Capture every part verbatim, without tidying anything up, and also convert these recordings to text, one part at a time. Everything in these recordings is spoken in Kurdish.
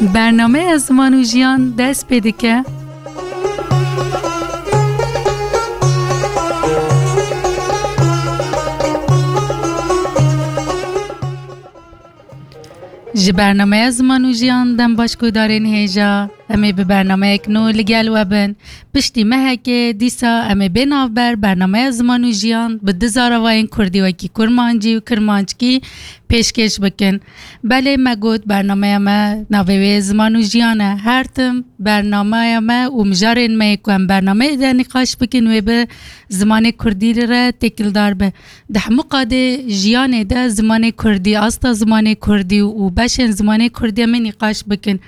Bernameya Ziman û Jiyan dest pê dike. Ji bernameya Ziman û Jiyan dem baş guhdarên hêja. Em ê bi bernameyek nû li gel we bin. Piştî mehekê dîsa em ê bê navber bernameya Ziman û Jiyan bi du zaravayên kurdî wekî kurmancî û kirmanckî pêşkêş bikin. Belê me got bernameya me navê wê Ziman û Jiyan e. Her tim bernameya me û mijarên me yê ku em bernameyê de nîqaş bikin wê bi zimanê kurdî re têkildar be. Di hemû qadê jiyanê de zimanê kurdî, asta zimanê kurdî û beşên zimanê kurdî em ê nîqaş bikin.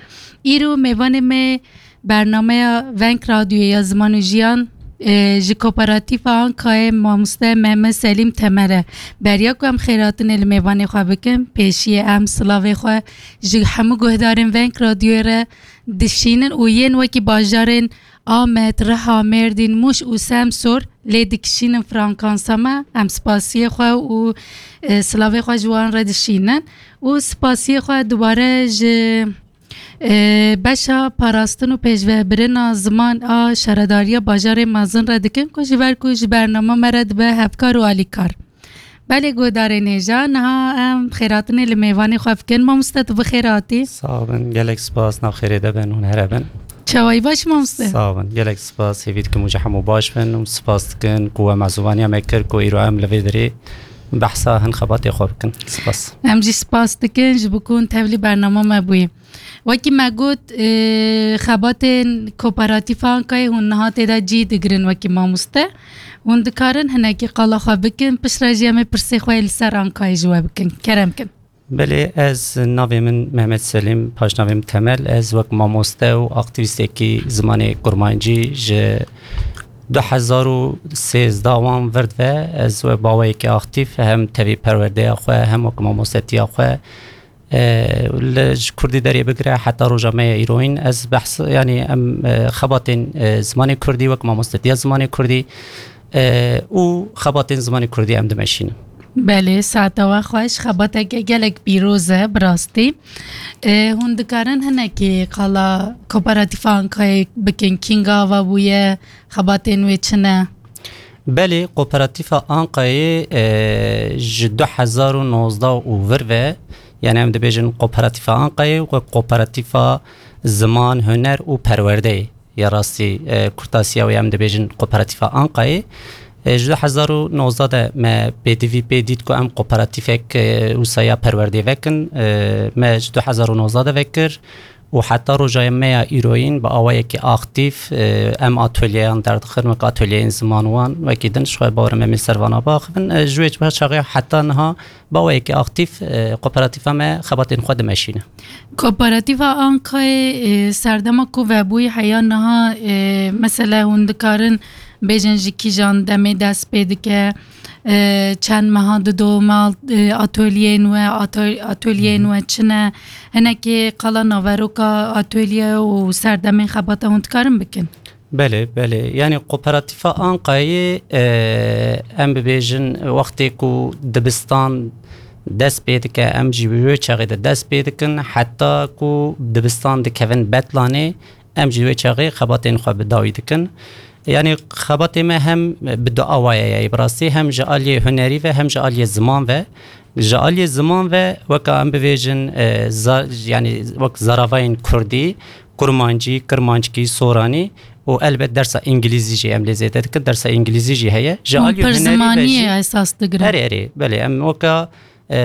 Îro mêvanê me bernameya Veng Radyoyê ya Ziman û Jiyan, e, ji Kooperatîfa Ankayê mamoste Mehmet Selîm Temel e. Beriya ku em xêratinê li mêvanê xwe bikin, pêşiyê em silavê xwe ji hemû guhdarên Veng Radyoyê re dişînin û yên wekî bajarên Amed, Riha, Mêrdîn, Mûş û Semsor lê dikişînin frankansa me. Em spasiyê xwe û, e, silavê xwe ji wan re dişînin û spasiyê xwe dubare ji, e, beşa parastin û pêşvebirina ziman a Şaredariya Bajarê Mezin re dikin ku ji ber ku ji bernama me re dibe hevkar û alîkar. Belê guhdarên hêja, niha em xêratinê li mêvanê xwe bikin. Mamoste, tu bi xêr hatî. Sax bin, gelek spas, nav xêrê de bin, hûn here bin. Çawayî baş mamoste? Sax bin, gelek spas, hêvî dikim û ji hemû baş bin û spas dikin ku we mezûvaniya me kir ku îro em li vê derê behsa hin xebatê xwe bikin. Spas. Em jî spas dikin ji bo ku hûn tevlî bernama me bûyî. Wekî me got, e, xebatên Kooperatîfa Ankayê hûn niha tê de cî digirin wekî mamoste. Hûn dikarin hinekî qala xwe bikin, piştre jî em ê pirsê xwe yê li ser Ankayê ji we bikin. Kerem kin. Belê, ez navê min Mehmet Selîm, paşnavê min Temel. Ez wek mamoste û aktîvîstekî zimanê kurmancî ji du hezar û sêzdeh wan vir ve ez wek baweyekî aktîf hem tevî perwerdeya xwe hem wek mamostetiya xwe, e, li ji kurdî derê bigire heta roja me ya îroyîn ez behs, yanî em, e, xebatên, e, zimanê kurdî wek mamostetiya zimanê kurdî, e, û xebatên zimanê kurdî em dimeşînin. Belê, saeta we xweş, xebateke gelek pîroz e, bi rastî. E, hûn dikarin hinekî qala Kooperatîfa Ankayê bikin, kînga ava bûye, xebatên wê çi ne? Belê, Kooperatîfa Ankayê, e, ji du hezar û nozdeh û vir ve, yani em dibêjin Kooperatîfa Ankayê wek Kooperatîfa Ziman, Huner û Perwerdeyê. Ya rastî, e, kurtasiya wê em dibêjin Kooperatîfa Ankayê. E, ji du hezar û nozdeh de me pêdivî pê dît ku em kooperatîfek, e, wisa ya perwerdê vekin. E, me ji du hezar û nozdeh de vekir û heta roja me ya îroyîn bi awayekî aktîf, e, em atolyeyan derdixin, wek atolyeyên ziman wan, wekî din ji xwe bawerim em ê ser vana biaxivin. E, ji wê çaxê heta niha bi awayekî aktîf, e, kooperatîfa me xebatên xwe dimeşîne. Kooperatîfa Ankayê, e, serdema ku vebûyî heya niha, e, mesele hûn dikarin bêjin ji kîjan demê dest pê dike, e, çend meha didome, e, atolyeyên we, ato-, atolyeyên we çi ne? Hinekî qala naveroka atolye û serdemên xebata hûn dikarin bikin? Belê, belê. Yani Kooperatîfa Ankayê, e, em bibêjin, wextê ku dibistan dest pê dike, em jî wê çaxê de dest pê dikin, heta ku dibistan dikevin betlanê, em jî wê çaxê xebatên xwe bi dawî dikin. Yani xebatê me hem bi du awayê ye, bi rastî hem ji aliyê hunerî ve hem ji aliyê ziman ve. Ji aliyê ziman ve weka em bibêjin, e, za-, yani wek zaravayên kurdî, kurmancî, kirmanckî, soranî û elbet dersa îngilîzî jî em lê zêde dikin. Dersa îngilîzî jî heye. Ji aliyê hunerî ve jî esas digirin. Erê, erê, belê, em weka, e,